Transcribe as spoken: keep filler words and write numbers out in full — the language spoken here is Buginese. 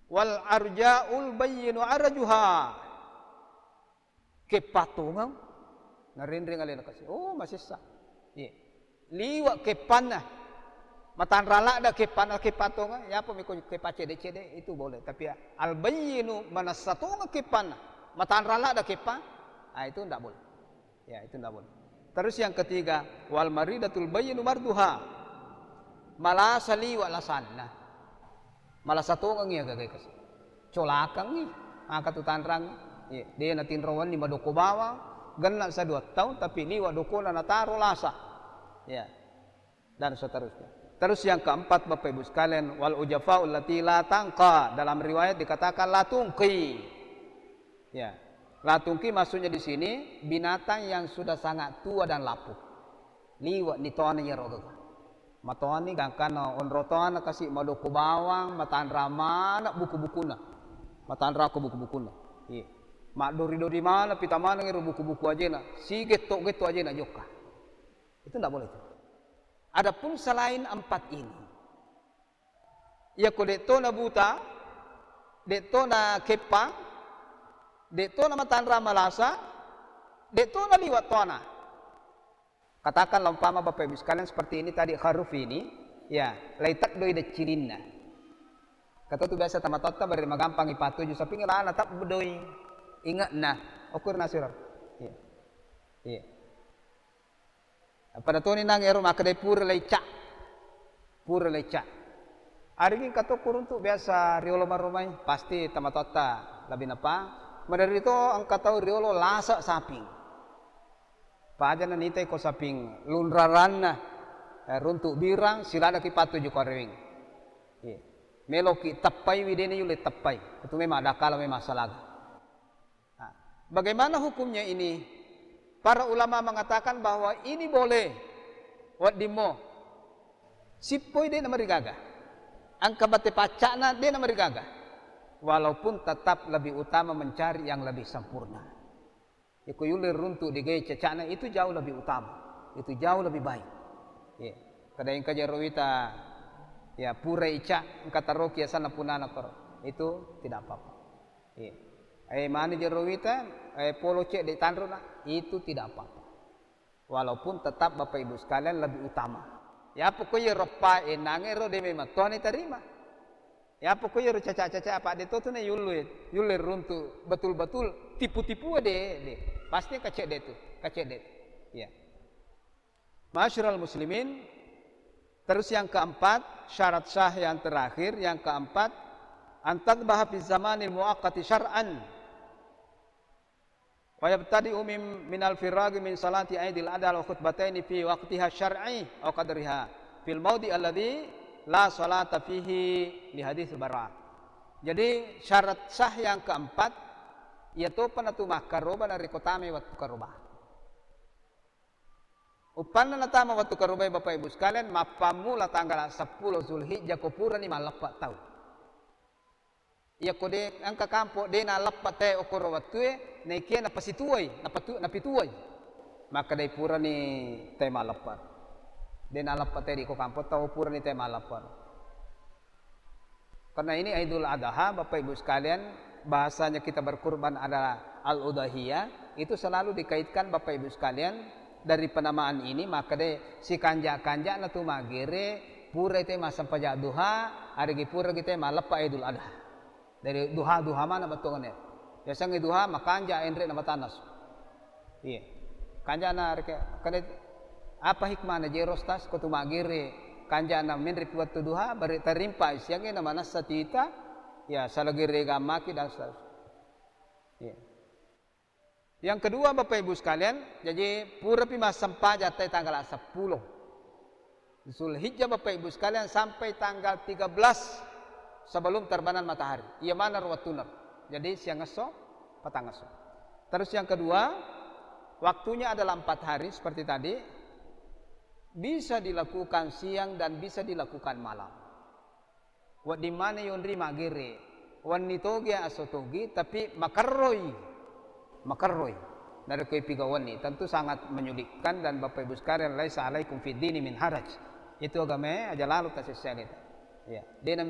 Wal arja'ul bayyinu arjuha. Keppa tongeng, narenreng alena kasi. Oh, masessa. Iya. Liwa keppanna. Matanra ladda keppanna, keppa tongeng. Yapa miko keppa cede-cede, itu boleh. Tapi al bayyinu, manessa tongeng keppanna. Matanra ladda keppa. Ah, itu ndak boleh. Ya, itu ndak boleh. Terus yang ketiga, wal maridatul bayyinu marduha. Malasa liwa lasanna. Malasa tongeng iya gagai kasi. Colakangngi, maka tu tanrang. Iya, de natinrowanni madoko bawang, genna sa dua taung, tapi liwa dokona nataro lasa. Ya. Dan seterusnya. Terus yang keempat, Bapak Ibu sekalian, wal ujafaul lati la tangqa. Dalam riwayat dikatakan la tungqi. Ya. La tungqi maksudnya di sini binatang yang sudah sangat tua dan lapuk. Liwa ni toana iyaro gaga. Matoani gangkanna onro toana kasi madoko bawang, matanra mana buku-bukunna. Matanra ko buku-bukunna. Iya. Maddori-dori mana pita maneng ero buku-buku ajena. Si getto-getto ajena jokka. Itu ndak boleh itu. Adapun selain empat ini, iyako de'to na buta, de'to na keppa, de'to na matanra malasa, de'to na liwa toana. Katakanlah umpama Bapak Ibu sekalian seperti ini tadi, huruf ini, ya, lai teddoi deccirinna. Kata tu biasa tamatotta bere magampang ipatuju, tapi ngelana teddoi inge'na. Okur nasiro. Iya. Iya. Pada toni nang ero makkedai pura lecca. Pura lecca. Arigi engka to kuruntu biasa riolo maromai, pasti tamatotta lebih napa. Maderri to engka tau riolo lasa saping. Paja na nitai ko saping lunraranna, eh, runtu birang, siladaki patuju ko areweng. Iya. Meloki teppai widene yule teppai. Itu memang ada kala memang salaga. Nah, bagaimana hukumnya ini? Para ulama mengatakan bahwa ini boleh. Weddimmo. Sippoi de namarigaga. Engka bate paccana de namarigaga. Walaupun tetap lebih utama mencari yang lebih sempurna. Iko yulle runtu de gae cacana itu jauh lebih utama. Itu jauh lebih baik. Iya. Kada engka jero wita, ya, pura ica, engka taroki asanna punana koro. Itu tidak apa-apa. Iya. Eh, mani jero wita, eh, polo cedde tanrona, itu tidak apa-apa. Walaupun tetap Bapak Ibu sekalian lebih utama. Ya pokoknya roppa enange ro de memang Tuhan terima. Ya pokoknya ro caca-caca apa de to tu ne yulle, yulle runtu betul-betul tipu-tipu de, de. Pasti kacedde tu, kacedde. Ya. Ma'asyiral muslimin, terus yang keempat, syarat sah yang terakhir, yang keempat, antadbaha fi zamanil muaqqati syar'an. Wa yabtadi'u min, minal firaghi min salati aidil adha wa khutbataini fi waqtiha syar'i wa qadriha fil maudi alladhi la salata fihi li hadits bara. Jadi syarat sah yang keempat, iya topa natu makkaroba narekko tamai wettu karoba. Uppanna natama wettu karobae, Bapak Ibu sekalian, mappammula tanggal seppulo Zulhijjah ko purani malleppa tau. Iyako de engka kampo de naleppa te okoro wettue, naikia napasituai, napatu-, napituai. Makkedai purani te malleppa. De naleppa te ri ko kampo tau purani te malleppa. Karena ini Idul Adha, Bapak Ibu sekalian, bahasanya kita berkurban adalah al-udhiyah, itu selalu dikaitkan Bapak Ibu sekalian dari penamaan ini, maka de sikanja-kanja na tu magere pura te massempajang duha, arigi pura kita maleppa Idul Adha. Dari duha-duha mana bettuannya. Biasanya duha makanja enre na matannas. Iya. Kanjana reke, kade, apa hikmahna jero stas ko tu magere kanjana menre pi wettu duha, bari tarimpa siangnge na manassa tita, ya, salagere gammaki dan seterusnya. Iya. Yang kedua, Bapak Ibu sekalian, jadi purapi massempajang tai tanggal seppulo. Zulhijjah, Bapak Ibu sekalian, sampai tanggal tiga belas sebelum terbenam matahari. Iya mana ro wettunna. Jadi siang esso, petang esso. Terus yang kedua, waktunya adalah empat hari seperti tadi. Bisa dilakukan siang dan bisa dilakukan malam. Wedding maneng yonri magere. Wenni togi aso togi, tapi makerroi. Makerroi. Narekko ipiga wenni, tentu sangat menyulitkan dan Bapak Ibu sekalian, laisa alaikum fid dini min haraj. Itu agamae aja lalu tasessanita. Ya, dena